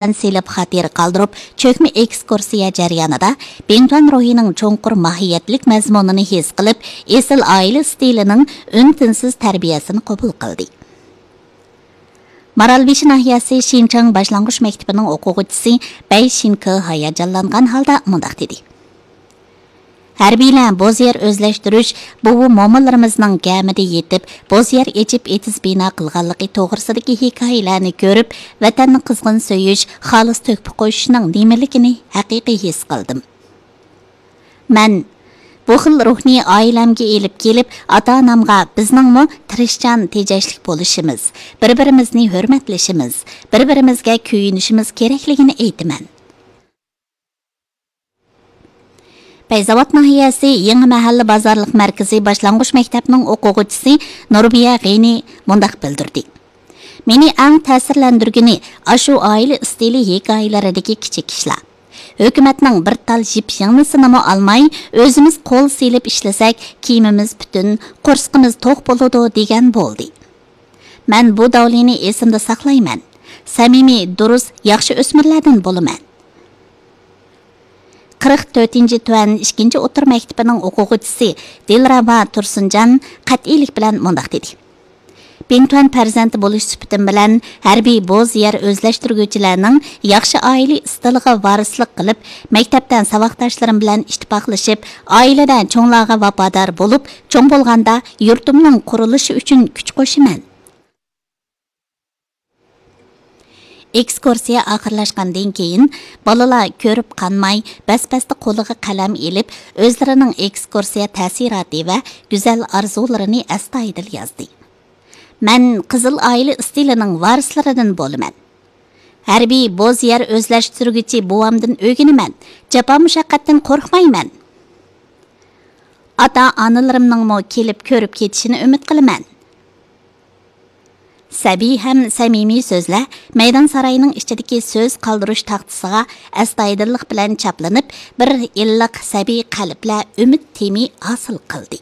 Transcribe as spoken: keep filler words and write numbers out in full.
سېلىپ خاتىرە قالدۇرۇپ، چۆكمە ئېكسكۇرسىيە جەريانىدا بىڭتۈەن روھىنىڭ چوڭقۇر ماھىيەتلىك مەزمۇنىنى ھېس قىلىپ، ئېسىل ئائىلە ئىستىلىنىڭ ئۈن-تىنسىز تەربىيەسىنى قوبۇل قىلدى. مارالبېشى ناھىيەسى شىنچاڭ باشلانغۇچ مەكتىپىنىڭ ئوقۇغۇچىسى بەي شىنكې ھاياجانلانغان ھالدا مۇنداق دېدى: ھەربىيلەر بوز يەر ئۆزلەشتۈرۈش، بوۋا مومىلىرىمىزنىڭ گەمىدە يېتىپ، بوز يەر ئېچىپ ئېتىز بىنا قىلغانلىقى توغرىسىدىكى ھېكايىلەرنى كۆرۈپ، ۋەتەننى قىزغىن سۆيۈش، خالىس تۆھپە قوشۇشنىڭ نېمىلىكىنى ھەقىقىي ھېس قىلدىم. مەن بۇ خىل روھنى ئائىلەمگە ئېلىپ كېلىپ، ئاتا-ئانامغا بىزنىڭمۇ تىرىشچان، تېجەشلىك بولۇشىمىز، بىر-بىرىمىزنى ھۆرمەتلىشىمىز، بىر-بىرىمىزگە كۆيۈنۈشىمىز كېرەكلىكىنى ئېيتىمەن. پەيزاۋات ناھىيەسى يېڭى مەھەللە بازارلىق مەركىزى باشلانغۇچ مەكتەپنىڭ ئوقۇغۇچىسى نۇربىيە غېنى مۇنداق بىلدۈردى: مېنى ئەڭ تەسىرلەندۈرگىنى ئاشۇ ئائىلە ئىستىلى ھېكايىلىرىدىكى كىچىك ئىشلار. ھۆكۈمەتنىڭ بىر تال يىپ يىڭنىسىنىمۇ ئالماي، ئۆزىمىز قول سېلىپ ئىشلىسەك، كىيىمىمىز پۈتۈن، قورسىقىمىز توق بولىدۇ، دېگەن بولدى. مەن بۇ داۋلىنى ئېسىمدە ساقلايمەن. سەمىمىي، دۇرۇس، ياخشى ئۆسمۈرلەردىن بولىمەن. قىرىق تۆتىنچى تۈەن ئىككىنچى ئوتتۇرا مەكتىپىنىڭ ئوقۇغۇچىسى دىلرەبا تۇرسۇنجان قەتئىيلىك بىلەن مۇنداق دېدى: بىڭتۈەن پەرزەنتى بولۇش سۈپىتىم بىلەن، ھەربىي بوز يەر ئۆزلەشتۈرگۈچىلەرنىڭ ياخشى ئائىلە ئىستىلىغا ۋارىسلىق قىلىپ، مەكتەپتە ساۋاقداشلىرىم بىلەن ئىتتىپاقلىشىپ، ئائىلىدە چوڭلارغا ۋاپادار بولۇپ، چوڭ بولغاندا يۇرتۇمنىڭ قۇرۇلۇشى ئۈچۈن كۈچ قوشىمەن. ئېكسكۇرسىيە ئاخىرلاشقاندىن كېيىن، بالىلار كۆرۈپ قانماي، بەس-بەستە قولىغا قەلەم ئېلىپ، ئۆزلىرىنىڭ ئېكسكۇرسىيە تەسىراتى ۋە گۈزەل ئارزۇلىرىنى ئەستايىدىل يازدى. مەن قىزىل ئائىلە ئىستىلىنىڭ ۋارىسلىرىدىن بولىمەن. ھەربىي بوز يەر ئۆزلەشتۈرگۈچى بوۋامدىن ئۆگىنىمەن. جاپا مۇشەققەتتىن قورقمايمەن. ئاتا-ئانىلىرىمنىڭمۇ كېلىپ كۆرۈپ كېتىشىنى ئۈمىد قىلىمەن. سەبىي ھەم سەمىمىي سۆزلەر مەيدان ساراينىڭ ئىچىدىكى سۆز قالدۇرۇش تاختىسىغا ئەستايىدىللىق بىلەن چاپلىنىپ، بىر ئىللىق سەبىي قەلبلەر ئۈمىد تېمى ھاسىل قىلدى.